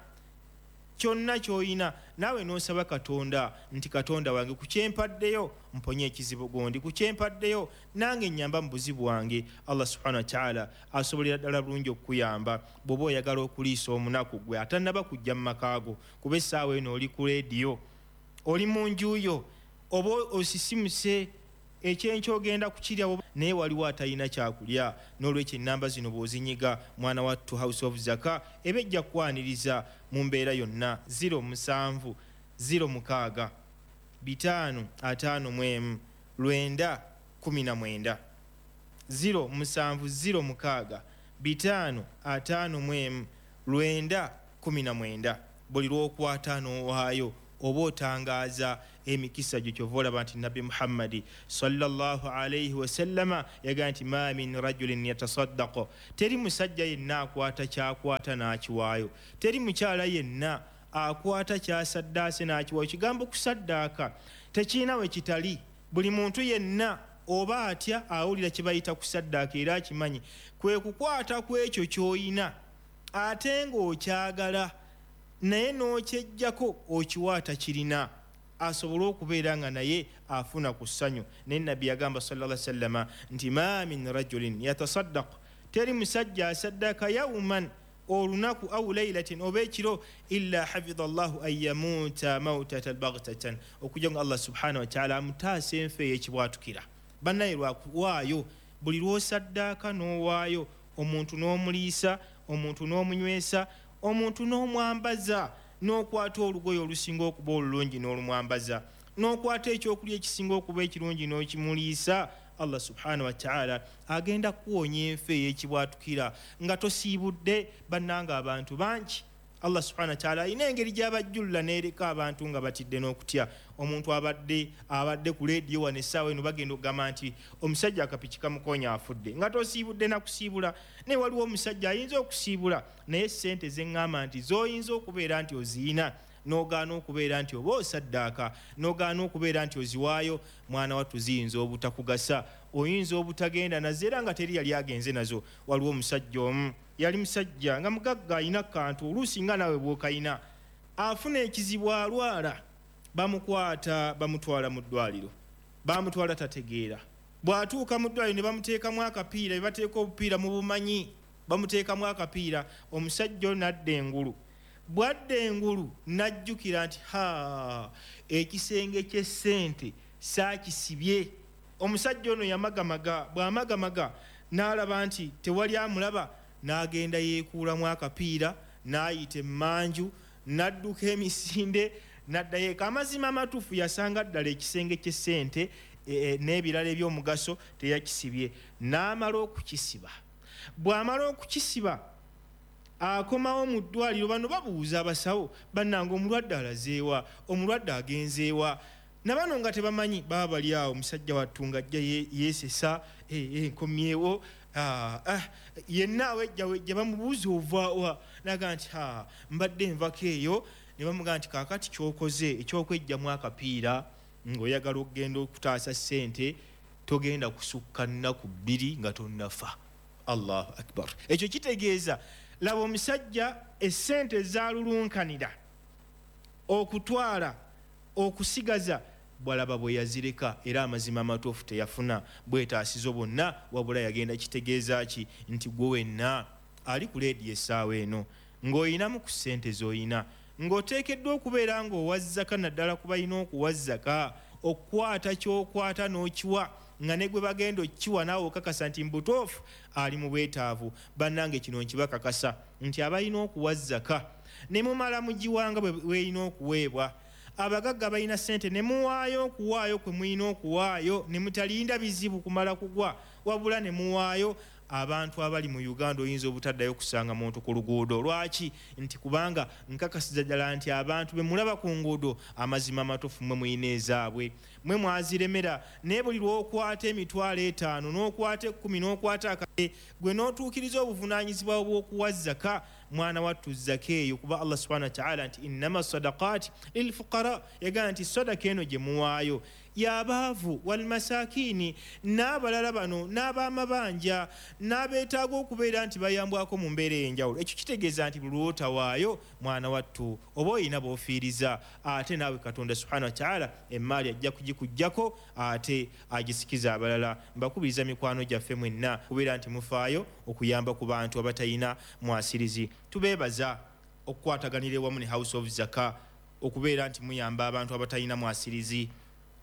Kyonna ky'olina naawe n'osaba Katonda nti Katonda wange ku kyempaddeyo mponye ekizibu gondi, ku kyempaddeyo nange nnyamba mu buzibu bwange. Allah subhanahu wa ta'ala asobolera ddala bulungi okukuyamba bw'oba oyagala okuliisa omunaku gwe atannaba kujja mu makaago, kuba essaawa eno oli ku leediyo, oli mu nju yo, oba osisimuse ekyenkya ogenda kukirya, naye waliwo atalina kyakulya. N'olwekyo ennamba zino bw'ozinyiga mwana wattu House of Zaka eba ejja kukwaniriza mu mbeera yonna. Ziro musanvu ziro mukaaga bitaano ataano mu emu lwenda kumi na mwenda, ziro musanvu ziro mukaaga bitaano ataano mu emu lwenda kumi na mwenda. Buli lw'okwata n'owaayo oba otangaaza emikisa gyo. Kyova olaba nti Nabbi Muhammadi sallallahu alaihi wasallama yagamba nti ma min rajulin yatasaddaqu, teri musajja yenna akwata kyakwata n'akiwaayo, teri mukyala yenna akwata kyasaddaase n'akiwaayo. Kigambo kusaddaaka tekirina we kitali. Buli muntu yenna oba atya awulira kye bayita kusaddaaka era akimanyi kwe kukwata ku ekyo ky'oyina ate ng'okyagala naye n'okyejjako okiwa atakirina asobole okubeera nga naye afuna ku ssanyu. Naye Nabbi yagamba sallallahu alaihi wasallama nti ma min rajulin yatasaddaqu, teri musajja asaddaaka yawman olunaku au laylatin oba ekiro, illa hafidha llahu an yamuuta mautatan baghtatan, okujja nga Allah subhanahu wa ta'ala amutaasa enfa ey'ekibwatukira. Bannaye lwakuwaayo buli lw'osaddaaka n'owaayo omuntu n'omuliisa, omuntu n'omunywesa, omuntu n'omwambaza, n'okwata olugoye olusinga okuba olulungi n'olumwambaza, n'okwata ekyokulya ekisinga okuba ekirungi n'okimuliisa, Allah subhanahu wa ta'ala agenda kuwonya enfa ey'ekibwatukira nga tosiibudde. Bannanga abantu bangi Allah subhanahu wa ta'ala alina engeri gy'abajjulula n'ereka abantu nga batidde n'okutya. Omuntu abadde abadde ku leediyo wano essaawa eno bagenda okugamba nti omusajja akapiki kamukonya afudde, nga tosiibudde na kusiibula. Naye waliwo omusajja ayinza okusiibula naye ssente ze ŋŋamba nti z'oyinza okubeera nti oziyina n'ogaana okubeera nti oba osaddaaka, n'ogaana okubeera nti oziwaayo, mwana wattu ziyinza obutakugasa, oyinza obutagenda nazo era nga teri yali agenze nazo. Waliwo omusajja omu yali musajja nga mugagga alina kantu oluusi nga naawe bw'okayina, afuna ekizibu alwala, bamukwata bamutwala mu ddwaliro, bamutwala tategeera. Bw'atuuka mu ddwaliro ne bamuteekamu akapiira, be bateeka obupiira mu bumanyi, bamuteekamu akapiira, omusajja ono n'adda engulu. Bw'adda engulu n'ajjukira nti ha, ekisenge ky'essente saakisibye. Omusajja ono yamagamaga, bw'amagamaga n'alaba nti tewali amulaba, n'agenda yeekuulamu akapiira, n'ayita emmanju, n'adduka emisinde, n'addayo eka. Amazima amatuufu yasanga ddala ekisenge ky'essente e, n'ebirala eby'omugaso teyakisibye, n'amala okukisiba. Bw'amala okukisiba akomawo mu ddwaliro, bano babuuza abasawo, bannange omulwadde alazeewa, omulwadde agenzeewa? Na bano nga tebamanyi, baba bali awo, omusajja wattu ng'ajja yeesesa, nkomyewo, yenna awejja wejja, bamubuuza ovaawa, n'agamba nti ha, mbadde nvako eyo. Ne bamugamba nti kaakati ky'okoze ekyokwejjamu akapiira ng'oyagala okugenda okutaasa ssente, togenda kusukka nnaku bbiri nga tonnafa. Allahu akbar. Ekyo kitegeeza laba omusajja essente zaalulunkanira okutwala okusigaza, bw'alaba bwe yazireka, era amazima amatuufu teyafuna bwetaasizo bwonna, wabula yagenda. Kitegeeza ki? Nti gwe wenna ali ku leediyo essaawa eno ng'oyinamu ku ssente z'oyina, ng'oteekeddwa okubeera ng'owa zaka, naddala ku balina okuwa zaka, okukwata ky'okwata n'okiwa nga ne gwe bagenda okkiwa naawe okakasa nti mbutuufu ali mu bwetaavu. Bannange kino nkibakakasa nti abalina okuwa zaka ne mumala mugiwanga bwe bw'erina okuweebwa, abagagga balina ssente ne muwaayo okuwaayo kwe mulina okuwaayo, ne mutalinda bizibu kumala kugwa, wabula ne muwaayo. Abantu abali mu Uganda oyinza obutaddayo kusanga muntu ku luguudo. Lwaki? Nti kubanga nkakasiza ddala nti abantu be mulaba ku nguudo amazima amatuufu mmwe mulina ezaabwe, mmwe mwaziremera. Naye buli lw'okwata emitwalo etaano n'okwata ekkumi n'okwata akade, gwe n'otuukiriza obuvunaanyizibwa bw'okuwa zaka, Mwana wattu zaka eyo, kuba Allah subhanahu wa ta'ala nti innama sadaqat lilfuqara, yagamba nti sadaka eno gye muwaayo y'abaavu walmasakini n'abalala bano n'abamabanja n'abeetaaga okubeera nti bayambwako mu mbeera ey'enjawulo. Ekyo kitegeeza nti buli lw'otawaayo mwana wattu oba oyina b'ofiiriza, ate naawe Katonda subhanahu wa ta'ala emmaali ajja kugikuggyako ate agisikiza abalala. Mbakubiriza mikwano gyaffe mwenna kubeera nti mufaayo okuyamba ku bantu abatayina mwasirizi. Tubeebaza okukwataganira ewamu ne House of Zaka okubeera nti muyamba abantu abatayina mwasirizi,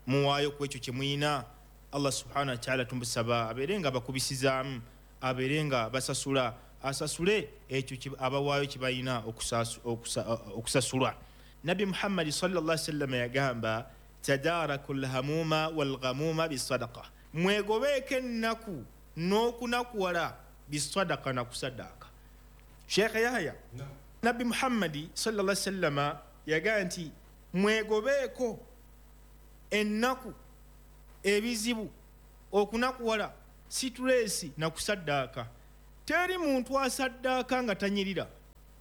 muwaayo ku ekyo kye muyina. Allah subhanahu wa ta'ala tumusaba abeere nga bakubisizaamu, abeere nga basasula, asasule ekyo abawaayo kye balina okusasulwa. Nabbi Muhammadi sallallahu alaihi wasallam yagamba tadaraku lhamuma walghamuma bisadaqa, mwegobeeko ennaku n'okunakuwala bisadaqa, na kusaddaaka. Sheikh Yahya, Nabbi Muhammadi sallallahu alaihi wasallam yagamba nti mwegobeeko ennaku, ebizibu, okunakuwala, situleesi na kusaddaaka. Teri muntu asaddaaka nga tanyirira,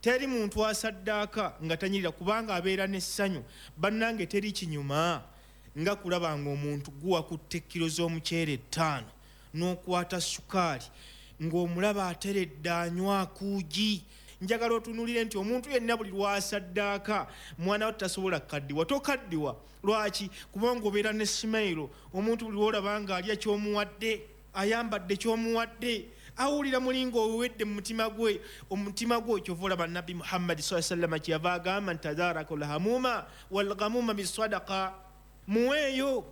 teri muntu asaddaaka nga tanyirira, kubanga abeera n'essanyu. Bannange teri kinyuma nga kulaba ng'omuntu guwakutte ekkiro z'omuceere ttaano n'okwata sukaali ng'omulaba ateredde anywa akuugi. Njagala otunuulire nti omuntu yenna buli lw'asaddaaka mwana we tasobola kukaddiwa. Tokaddiwa lwaki? Kubanga obeera ne simayiro. Omuntu buli lw'olaba ng'alya ky'omuwadde, ayambadde ky'omuwadde, awulira muli ng'owedde mu mutima gwe. Omutima gwe kyova olaba Nabbi Muhammadi sallallahu alaihi wasallam kyeyava agamba nti tadaraku lhamuma walghamuma bisadaqa, muweeyo,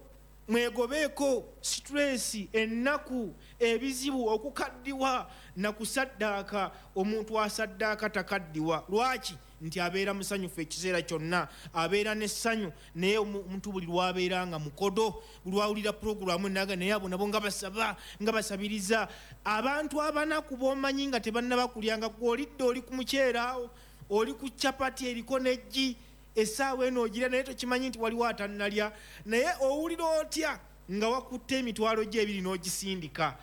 mwegobeeko situleesi, ennaku, ebizibu, okukaddiwa na kusaddaaka. Omuntu asaddaaka takaddiwa. Lwaki? Nti abeera musanyufu ekiseera kyonna, abeera n'essanyu. Naye omuntu buli lw'abeera nga mukodo, buli lw'awulira pulogulaamu enaga, naye abo nabo nga basaba, nga basabiriza. Abantu abanaku b'omanyi nga tebannaba kulya, nga gw'olidde oli ku muceere awo, oli ku capati eriko n'eggi, essaawa eno ogira naye tokimanyi nti waliwo atannalya. Naye owulira otya nga wakutte emitwalo gye ebiri n'ogisindika?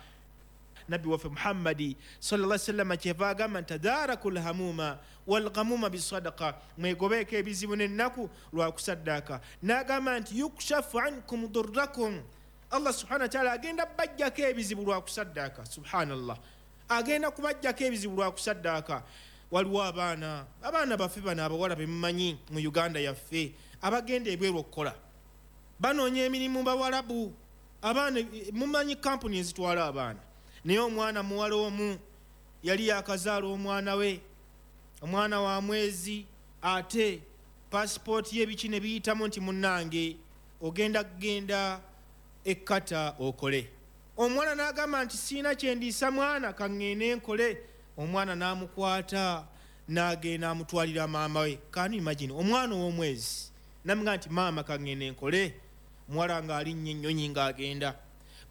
Nabbi waffe Muhammadi sallallahu alaihi wasallam kyeva agamba nti tadaraku lhamuma walghamuma bisadaqa, mwegobeeko ebizibu n'ennaku lwa kusaddaaka. N'agamba nti yukshafu ankum durrakum, Allah subhanahu wa ta'ala agenda bajjako ebizibu lwa kusaddaaka. Subhanallah, agenda kubajjako ebizibu lwa kusaddaaka. Waliwo abaana, abaana baffe bano abawala bemumanyi mu Uganda yaffe abagenda ebweru okukola, banoonya emirimu bawalabu. Abaana mumanyi kampuni ezitwala abaana, naye omwana muwala omu yali yakazaala omwana we, omwana wa mwezi, ate pasipooti ye biki ne biyitamu nti munnange ogenda kugenda ekkata okole. Omwana n'agamba nti siina kye ndiisa mwana, kaŋŋende nkole. Omwana n'amukwata n'agenda amutwalira maama we. Can you imagine omwana ow'omwezi namugamba nti maama kaŋŋende nkole, muwala ng'alinnya ennyonyi ng'agenda.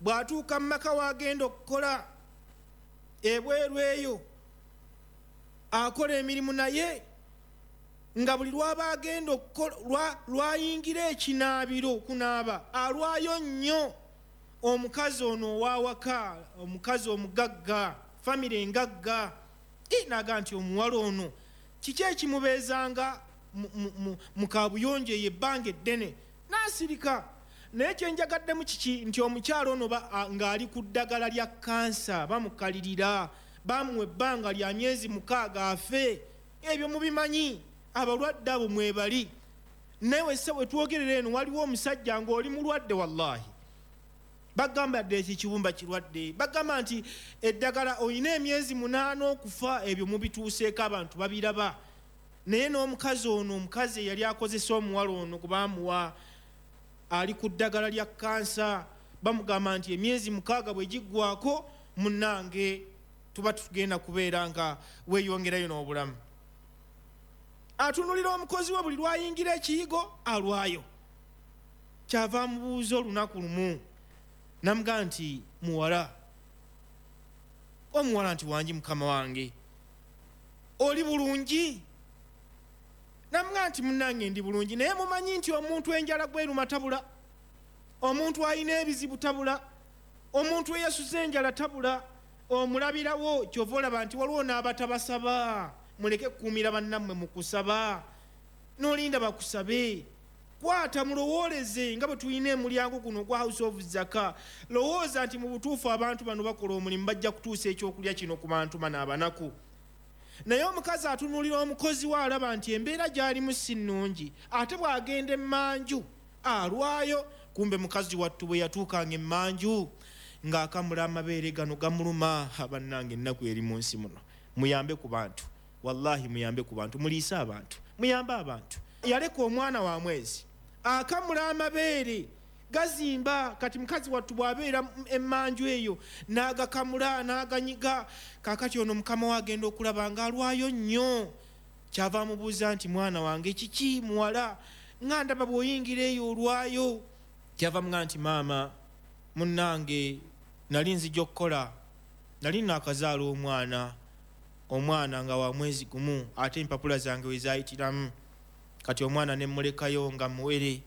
Bw'atuuka mu maka w'agenda okukola ebweru eyo, akola emirimu, naye nga buli lw'aba agenda okukola lwayingira ekinaabiro okunaaba alwayo nnyo. Omukazi ono ow'awaka, omukazi omugagga, famire engagga, naga nti omuwala ono kiki ekimubeezanga mu kaabuyonjo eyo ebbanga eddene? N'asirika. Naye kyenjagaddemu kiki? Nti omukyala ono ng'ali ku ddagala lya kansa, bamukalirira, bamuwa ebbanga lya myezi mukaaga afe. Ebyo mubimanyi, abalwadde abo mwebali. Naye wesse we twogerera eno waliwo omusajja ng'oli mulwadde, wallahi bagamba dde eki kibumba kirwadde, bagamba nti eddagala olina emyezi munaana okufa. Ebyo mubituuseeko, abantu babiraba. Naye n'omukazi ono, omukazi eyali akozesa omuwala ono kubamuwa, ali ku ddagala lya kansa, bamugamba nti emyezi mukaaga bwe giggwako munnange tuba tugenda kubeera nga weeyongerayo n'obulamu. Atunulira omukozi we buli lwayingira ekiyigo alwayo. Kyava amubuuza olunaku lumu namugamba nti muwala, omuwala nti wangi mukama wange, oli bulungi? Namugamba nti munnange ndi bulungi, naye mumanyi nti omuntu enjala gweruma tabula, omuntu alina ebizibu tabula, omuntu eyasuze enjala tabula, omulabirawo. Kyova olaba nti waliwo n'abatabasaba, Muleke kukuumira bannammwe mu kusaba, n'olinda bakusabe. Kwata mulowooleze nga bwe tulina emulyango guno ogwa House of Zaka. Lowooza nti mu butuufu abantu bano bakola omulimu, bajja kutuusa ekyokulya kino ku bantu bano abanaku. Naye omukazi atunuulira omukozi we, alaba nti embeera gy'alimu si nnungi, ate bw'agenda emmanju alwayo. Kumbe mukazi wattu bwe yatuukanga emmanju ng'akamula amabeere gano gamuluma. Bannange, ennaku eri mu nsi muno. Muyambe ku bantu, wallahi muyambe ku bantu, muliise abantu, muyambe abantu. Yaleka omwana wa mwezi akamula amabeere gazimba. Kati mukazi wattu bw'abeera emmanju eyo n'agakamula n'aganyiga. Kaakati ono mukama we agenda okulaba ng'alwayo nnyo. Kyava amubuuza nti, mwana wange kiki muwala, nga ndaba bw'oyingira eyo olwayo? Kyava amugaa nti, maama munnange, nali nzija okukola, nali naakazaala omwana, omwana nga wa mwezi gumu, ate empapula zange we zaayitiramu. Kati omwana ne mmulekayo nga muwere,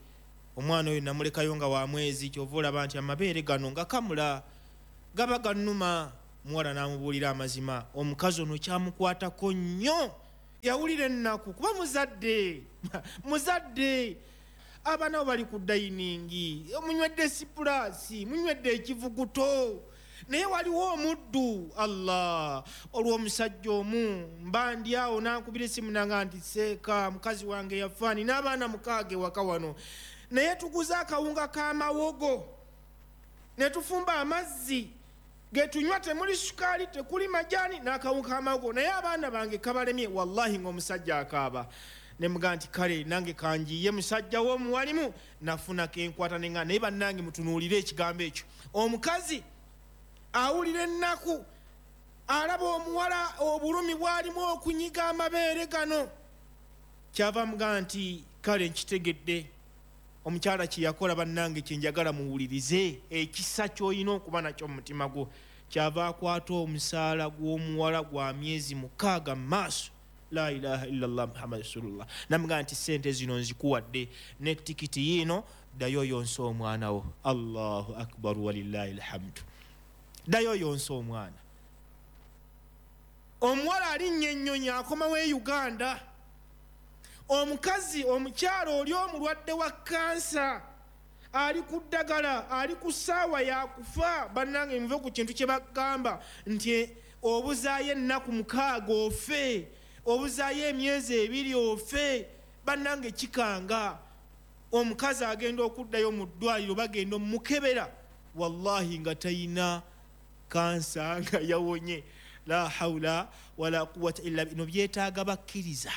omwana oyo namulekayo nga wa mwezi. Kyova olaba nti amabeere gano nga kamula gaba gannuma. Muwala n'amubuulira amazima. Omukazi ono kyamukwatako nnyo, yawulira ennaku kuba muzadde muzadde. Abaana bo bali ku dayiningi, munywedde sipulaasi, munywedde ekivuguto, naye waliwo omuddu. Allah, olw'omusajja omu mba ndi awo n'ankubira essimu nanga nti, seeka, mukazi wange yafaani n'abaana mukaaga ewaka wano, naye tuguze akawunga k'amawogo ne tufumba amazzi ge tunywa, temuli sukaali, tekuli majaani, n'akawunga k'amawogo, naye abaana bange kabalemye. Wallahi ng'omusajja akaaba. Ne mugaa nti, kale nange kanjiye musajja w'omuwalimu. Nafuna kenkwata nenga. Naye bannange, mutunuulire ekigambo ekyo. Omukazi awulira ennaku, alaba omuwala obulumi bw'alimu okunyiga amabeere gano. Kyava mugaa nti, kale nkitegedde. Omukyala kye yakola, bannange, kye njagala muwulirize, ekisa ky'olina okuba nakyo mu mutima gwo. Kyava akwata omusaala gw'omuwala gwa myezi mukaaga mu maaso. La ilaha illallah Muhammad rasulullah. Namugaa nti, sente zino nzikuwadde ne tikiti yiino, ddayo yonsa omwana wo. Allahu akbar walillahi alhamdu. Ddayo yonsa omwana. Omuwala alinnya ennyonyi akomawo e Uganda. Omukazi omukyala oli omulwadde wa kansa, ali ku ddagala, ali ku ssaawa yakufa. Bannange, muve ku kintu kye bagamba nti obuzaayo ennaku mukaaga ofe, obuzaayo emyezi ebiri ofe. Bannange, kikanga. Omukazi agenda okuddayo mu ddwaliro, bagenda omukebera, wallahi nga tayina kansa, nga yawonye. La haula wala quwwata illa bino. Byetaaga bakkiriza,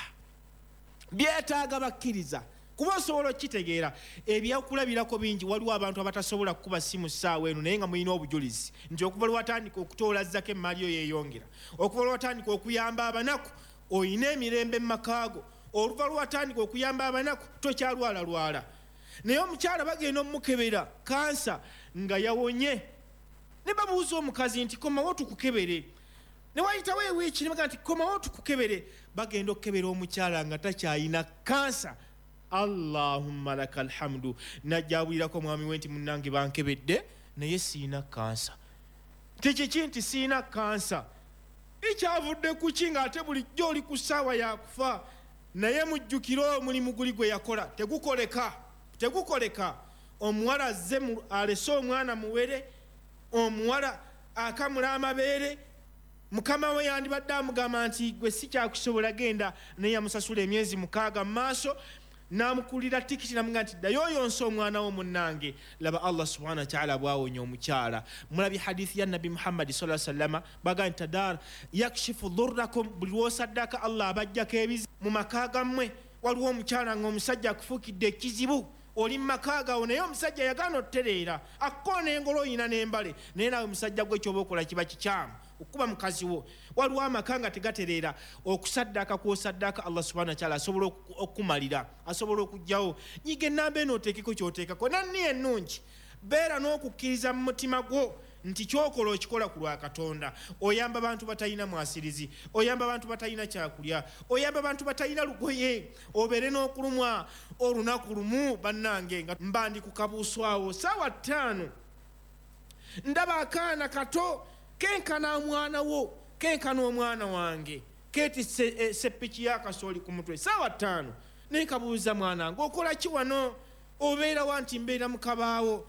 byetaaga bakkiriza, kuba osobola okukitegeera. Ebyokulabirako bingi. Waliwo abantu abatasobola kukuba simu ssaawa eno, naye nga mulina obujulizi nti okuva lwatandika okutoola zaka emmaali yo yeeyongera, okuva lwatandika okuyamba abanaku oyina emirembe mu makaago, oluva lwatandika okuyamba abanaku tokyalwalalwala. Naye omukyala bagenda omukebera kansa nga yawonye. Ne babuuza omukazi nti, komawo tukukebere. Ne wayitawo ewiiki ne bagaa nti, komawo tukukebere. Bagenda okukebera omukyala nga takyayina kansa. Allahumma laka alhamdu. Najja awulirako omwami we nti, munnange bankebedde naye siina kansa. Tekiki nti siina kansa? Ekyavudde ku ki ng'ate bulijjo oli ku ssaawa yakufa? Naye mujjukire omulimu guli gwe yakola tegukoleka, tegukoleka. Omuwala azze alese omwana muwere, omuwala akamula amabeere. Mukama we yandibadde amugamba nti, gwe si kyakusobola, genda. Naye yamusasula emyezi mukaaga mu maaso, n'amukulira tikiti, namugaa nti, ddayo oyonsa omwana wo munnange. Laba Allah subhanahu wa ta'ala bw'awonya omukyala. Mulabye hadithi ya Nabbi Muhammadi sallallahu alaihi wasallama, bagaa nti, tadar yakshifu dhurrakum, buli lw'osaddaka Allah abajjako ebizibu mu maka gammwe. Waliwo omukyala ng'omusajja akufuukidde ekizibu, oli mu maka gawo, naye omusajja yagaana otutereera, akkoona engolo oyina n'embale, naye naawe musajja gwe ky'oba okola kiba kikyamu okuba mukazi wo. Waliwo amaka nga tegatereera, okusaddaaka kw'osaddaaka Allah subhanahu wa ta'ala asobola okukumalira, asobola okuggyawo. Nyiga ennamba eno oteekeko ky'oteekako. Nanni ennungi, beera n'okukkiriza mu mutima gwo nti ky'okola okikola ku lwa Katonda. Oyamba bantu batalina mwasirizi, oyamba bantu batalina kyakulya, oyamba bantu batalina lugoye, obeere n'okulumwa olunaku lumu. Bannange, nga mba ndi ku kabuuso awo ssaawa ttaano, ndaba akaana kato kenkana omwana wo, kenkana omwana wange, Keetisse seppiki y'akasooli ku mutwe saawa ttaano. Naye kabuuza mwana ng'okola ki wano? Obeera wa nti mbeera mu kabaawo.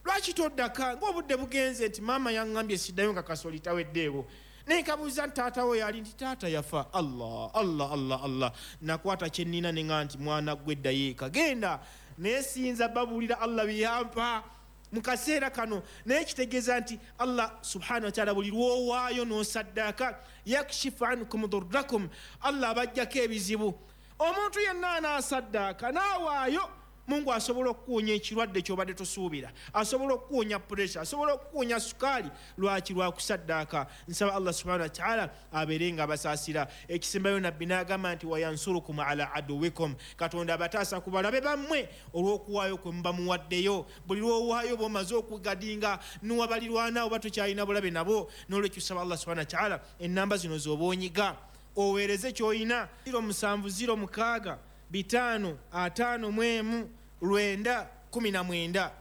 Lwaki toddaka ng'obudde bugenze? Nti maama yaŋŋambye siddayo nga kasooli taweddeewo. Naye kabuuza nti taata we yali? Nti taata yafa. Allah Allah Allah Allah. Nakwata kye nnina ne ŋŋamba nti mwana gwe ddayo eka genda. Naye siyinza babuulira Allah bye yampa mu kaseera kano. Naye kitegeeza nti Allah subhanahu wa taala buli lw'owaayo n'osaddaaka yakshifu ankum durrakum, Allah abaggyako ebizibu. Omuntu yenna anaasaddaaka n'awaayo, Mungu asobola okukuwonya ekirwadde ky'obadde tosuubira, asobola okukuwonya pressure, asobola okukuwonya sukaali. Lwaki? Lwakusaddaaka. Nsaba Allah subhanahu wa taala abeere nga abasaasira. Ekisembayo nabbi n'agamba nti wayansurukum ala aduwikum, Katonda abataasa ku balabe bammwe olw'okuwaayo kwe muba muwaddeyo. Buli lw'owaayo bw'omaze okugadinga n'owabalirwana oba tokyalina bulabe nabo. N'olwekyo saba Allah subhanahu wa taala ennamba zino z'oba onyiga oweereze ky'olina: ziro musanvu ziro mukaaga bitaano ataano mu emu lwenda kumi na mwenda,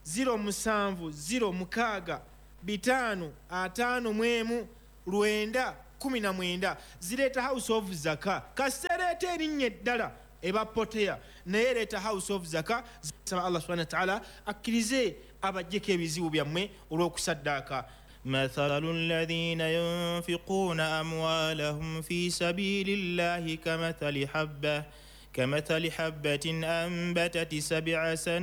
ziro musanvu ziro mukaaga bitaano ataano mu emu lwenda kumi na mwenda. Zireeta House of Zaka. Kasita ereeta erinnya eddala eba poteya, naye ereeta House of Zaka. Saba Allah subhanahu wa taala akkirize abaggyeko ebizibu byammwe olw'okusaddaaka. مثل الذين ينفقون أموالهم في سبيل الله كمثل حبة كمثل حبة أنبتت سبع سنابل.